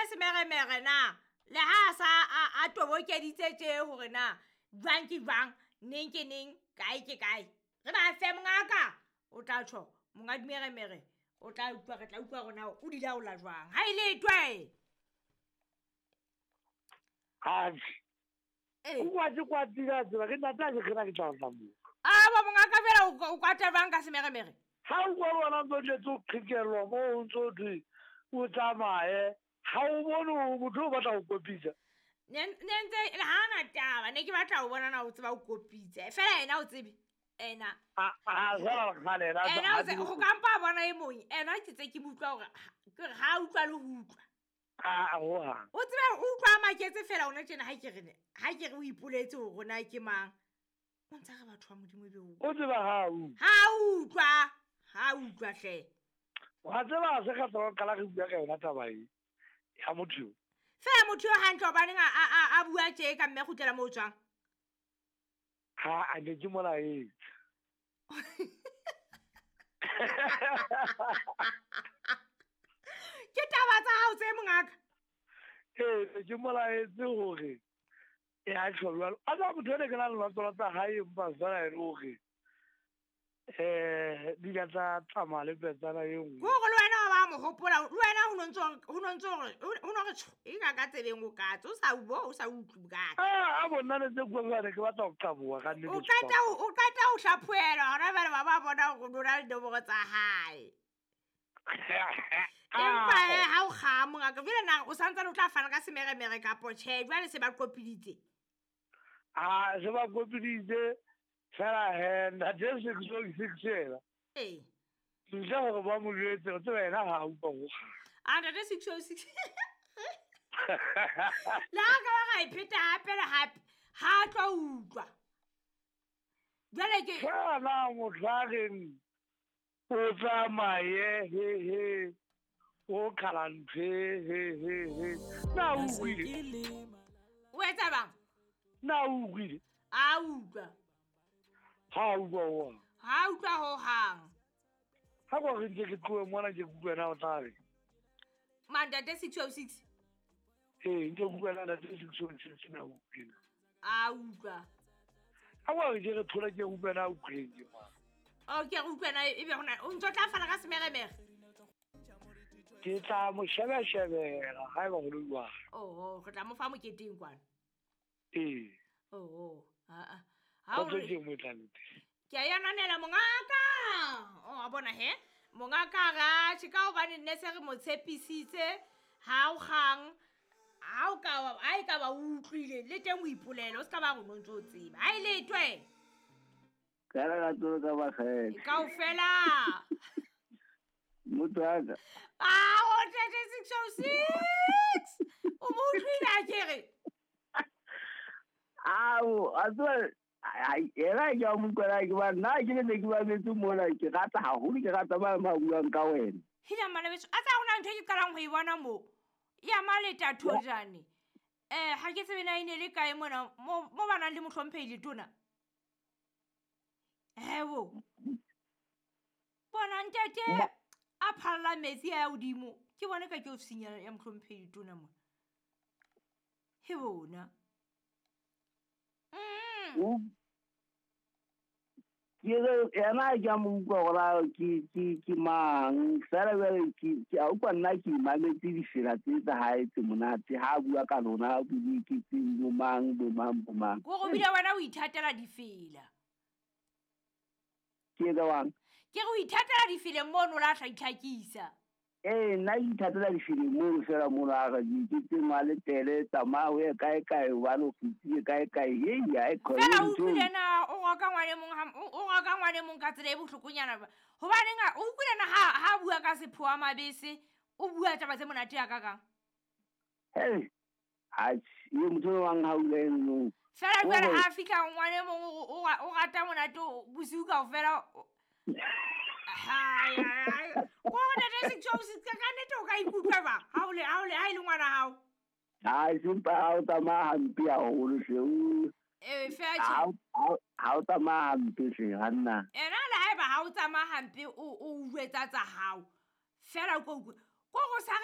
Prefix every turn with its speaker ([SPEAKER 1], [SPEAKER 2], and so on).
[SPEAKER 1] semeremere na le ha a sa a tobokeditse tje hore na jwang ke jwang, neng ke neng, kae ke kae. Re ba fe mongaka, o tla tjho monga dimeremere, o tla utlwa, re tla utlwa hore na o di laola jwang. Ha e letwe.
[SPEAKER 2] Atjhe.
[SPEAKER 1] Ee.
[SPEAKER 2] O kwatse kwatile a tseba, ke ntate a ke kgena ke tla tla moo.
[SPEAKER 1] A ba mongaka fela o kwata jwang ka semeremere?
[SPEAKER 2] Ha o kwa bona ntse o tletse o qhekellwa moo o ntse o thwe o tsamaye, ha o bone hore motho o batla ho kopitsa.
[SPEAKER 1] Ne ntse ha na taba, ne ke batla ho bona na o tseba o kopitse. Fela ena o tsebe. Ena.
[SPEAKER 2] A fela kgale ena
[SPEAKER 1] Ena
[SPEAKER 2] ha
[SPEAKER 1] o tse,
[SPEAKER 2] tsebe
[SPEAKER 1] ho kampa a bona e mong. Ena ke tse ke mo utlwa hore ke re ha utlwa le ho utlwa.
[SPEAKER 2] A, ho hang.
[SPEAKER 1] O tsebe o utlwa a maketse fela ona tjena ha ke re ne, ha ke re o ipoletse hore na ke mang. O ntse re batho ba Modimo ebe o.
[SPEAKER 2] O tseba ha o.
[SPEAKER 1] Ha utlwa, ha utlwa hle.
[SPEAKER 2] Wa tseba ha se ka tswa qala re bua ka yona taba e ya motho yo.
[SPEAKER 1] Fela motho yo hantle hobaneng a bua tje ka mme kgutlela moo o tswang?
[SPEAKER 2] Ha a ne ke molaetsa.
[SPEAKER 1] Ke taba tsa hao tse mongaka?
[SPEAKER 2] Ee, ne ke molaetse hore e a tjho jwalo. A tsa motho ene ke na le lerato tsa hae empa fela e le hore di ka tsa tsamaya le petsana e nngwe.
[SPEAKER 1] Ke hore le wena wa ba mo hopola, le wena ho no ntso hore, ho no ntso hore, ho no re tjho, e ka ka tsebeng o katse, o sa bo, o sa utlwe bokaka.
[SPEAKER 2] A bonna le tse bua jwale, ke batla ho qaboha ka nnete.
[SPEAKER 1] O qeta ho, o qeta ho hlaphohelwa hona jwale ba ba bona hore o na le dinomoro tsa hae. Empa he, ha o kga mongaka, jwale na o santsane o tla fana ka semeremere kapo tjhe, jwale se ba qopiditse?
[SPEAKER 2] A, se ba qopiditse. Fela he, ntate 606 ena.
[SPEAKER 1] Ee.
[SPEAKER 2] Ntle hore ba mo jwetse, o tseba yena ha a utlwa ho kgang.
[SPEAKER 1] A, ntate 606. Le ha ka ba ra e pheta hape le hape, ha a tlo utlwa. Jwale ke
[SPEAKER 2] Fela na motho a reng o tsamaye, he, he, o qhala ntho e, he, he, he. Na o utlwile?
[SPEAKER 1] O etsa bang?
[SPEAKER 2] Na o utlwile?
[SPEAKER 1] A utlwa.
[SPEAKER 2] Ha utlwa ho hang.
[SPEAKER 1] Ha utlwa ho hang.
[SPEAKER 2] Ha kwa re ntse ke tlohe mona ke utlwe na o tla re.
[SPEAKER 1] Man, ntate 606.
[SPEAKER 2] Ee, ntse ke utlwa na ntate 606 na utlwile.
[SPEAKER 1] A utlwa.
[SPEAKER 2] Ha kwa re ke re thola ke utlwe na utlwile ke mang.
[SPEAKER 1] O ke re utlwe na ebe hona o ntso tla fana ka semeremere.
[SPEAKER 2] Ke tla mo shebeshebela ha eba ho le jwalo.
[SPEAKER 1] Oho, re tla mo fa moketeng kwana.
[SPEAKER 2] Ee.
[SPEAKER 1] Oho, ha a. Ha o
[SPEAKER 2] Kgotso
[SPEAKER 1] re
[SPEAKER 2] ke mo tla le teng.
[SPEAKER 1] Ke a ya nanela mongaka. O a bona he? Mongaka ra tjhe ka hobane nne se re mo tshepisitse ha o kgang, ha o ka wa, ha e ka ba o utlwile le teng o ipolele, o ska ba re o ntso o tseba. Ha e letwe.
[SPEAKER 3] Ka re ka tsolo ka bakgetho.
[SPEAKER 1] Kaofela.
[SPEAKER 3] Motho wa ka.
[SPEAKER 1] A, o tete 606. O mo utlwile a ke re?
[SPEAKER 3] Ao, a tseba, ai, ena ke a mo utlwela ke ba, nna ke ne ke ba metse mona, ke rata haholo, ke rata ba ba buang ka wena.
[SPEAKER 1] Hila mmana beso, a tsa hona ntho e ke qalang ho e bona mo. Ya maleta thojane. Ha ke tsebe na e ne le kae mona, mo ba nang le mohlomphehi letona. Hebo. Bona ntate a phalla metsi a ya hodimo. Ke bone ka ke ofising ya mohlomphehi letona mona. He bona.
[SPEAKER 3] Ke re, yena ke a mo utlwa hore a ke mang. Feela jwale ke a utlwa nna ke mametse difela tse tsa hae tse monate. Ha a bua ka lona, a bue ke tse bo mang, bo mang, bo mang.
[SPEAKER 1] Ke hore o bile wena o ithatela difela.
[SPEAKER 3] Ke etsa jwang?
[SPEAKER 1] Ke re o ithatela difela mono o la tla itlhakisa.
[SPEAKER 3] Ee, nna ke ithatela difela mono fela mono a re ke tse ngwale tele, tsamaya o ye kae kae, hobane o fetile kae kae. Hei, ha e khone
[SPEAKER 1] Fela o
[SPEAKER 3] ntho.
[SPEAKER 1] utlwile na o roka ngwane mong ha, o roka ngwane mong ka tsela e bohlokonyana ba. Hobaneng o utlwile na ha bua ka sephoa mabese, o bua taba tse monate ya ka kang?
[SPEAKER 3] Hei, atjhe, ye motho o mang ha o ile eno.
[SPEAKER 1] Fela jwale
[SPEAKER 3] Hore
[SPEAKER 1] ha fihla ngwane mong o rata monate o bosiu kaofela, o Hai, hai, hai. Ko hore ntate 606 ka nnete o ka ikutlwa jwang? Ha o le, ha o le, ha e le ngwana hao?
[SPEAKER 3] Hai, sempa ha o tsamaya hampe haholo hle, o
[SPEAKER 1] Ee, feela tjhe.
[SPEAKER 3] Ha o tsamaya hampe hle, hanna.
[SPEAKER 1] Ena le haeba ha o tsamaya hampe, o jwetsa tsa hao. Feela o ko utlwe. Ko go sa